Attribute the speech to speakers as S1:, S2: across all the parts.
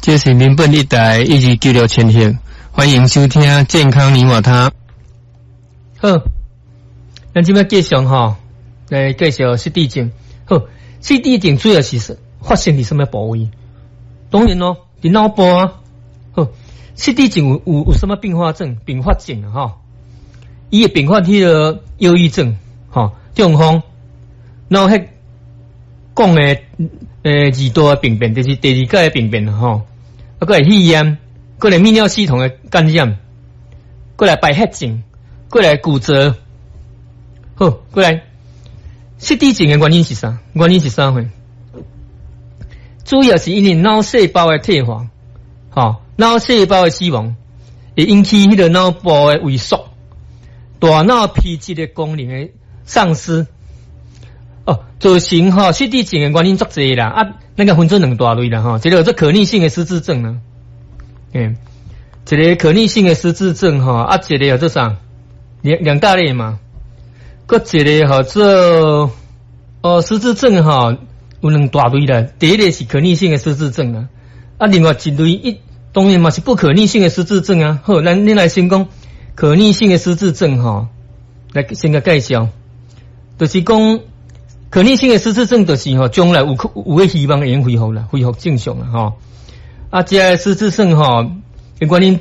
S1: 這是民本一台1296千赫，歡迎收聽健康你我他。好，咱這擺繼續吼來介紹失智症。好，失智症主要是發生佇啥物部位？當然咯，佇腦部啊。好，失智症有啥物併發症？併發症啊，吼，伊會併發彼個憂鬱症，吼，中風，腦血管的二度的病變，就是第二階的病變吼。啊，閣來肺炎，閣來泌尿系統的感染，閣來敗血症，閣來骨折。好，閣來失智症的原因是啥？原因是啥貨？主要是因為腦細胞的退化，吼，腦細胞的死亡，會引起彼個腦部的萎縮，大腦皮質的功能的喪失。哦，造成吼失智症的原因足濟啦，啊，咱共分做兩大類啦，吼，一個叫做可逆性的失智症啦，一個可逆性的失智症吼，啊，一個叫做啥？兩大類嘛，閣一個號做哦失智症吼，有兩大類啦，第一個是可逆性的失智症啊，啊，另外一類一當然嘛是不可逆性的失智症啊。好，咱恁來先講可逆性的失智症吼，來先共介紹，就是講可逆性的失智症就是吼，將來有個希望會用恢復啦，恢復正常啦吼。啊，這个失智症吼，原因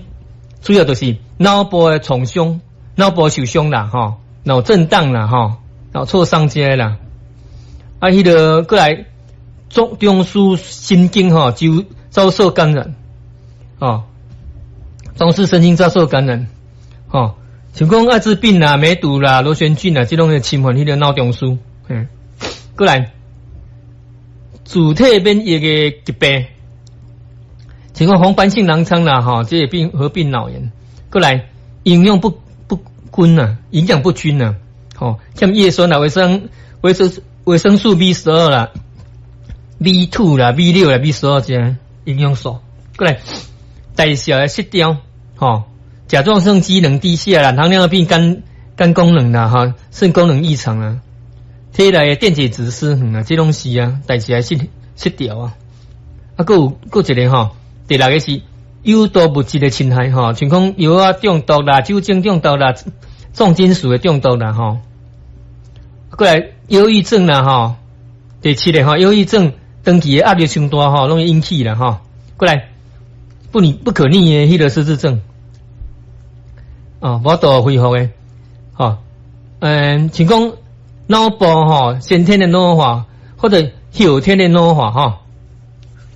S1: 主要就是腦部的創傷、腦部受傷啦，吼，腦震盪啦，吼，腦挫傷這个啦。啊，彼個閣來中樞神經吼就遭受感染，哦，中樞神經遭受感染，吼，像講愛滋病啦、梅毒啦、螺旋菌啦，這攏會侵犯彼個腦中樞，閣來自體免疫的疾病，像講紅斑性狼瘡啦，吼，這個病合併腦炎，閣來營養不均啊，營養不均啊，吼，像葉酸啦、維生素 B12 啦、B2 啦、B6 啦、B12這營養素，閣來代謝的失調，吼，甲狀腺機能低下啦，糖尿病肝功能啦，哈，腎功能異常啊，體內的電解質失衡啊，這攏是啊，代謝失調啊。啊，閣有閣一個吼，第六個是有毒物質的侵害吼，像講藥仔中毒啦、酒精中毒啦、重金屬的中毒啦，吼。閣來憂鬱症啦，吼，第七個吼，憂鬱症長期的壓力傷大吼，攏會引起啦，吼。閣來不可逆的彼個失智症，哦，無法度恢復的，吼，像講腦部吼，先天的腦化或者後天的腦化，吼。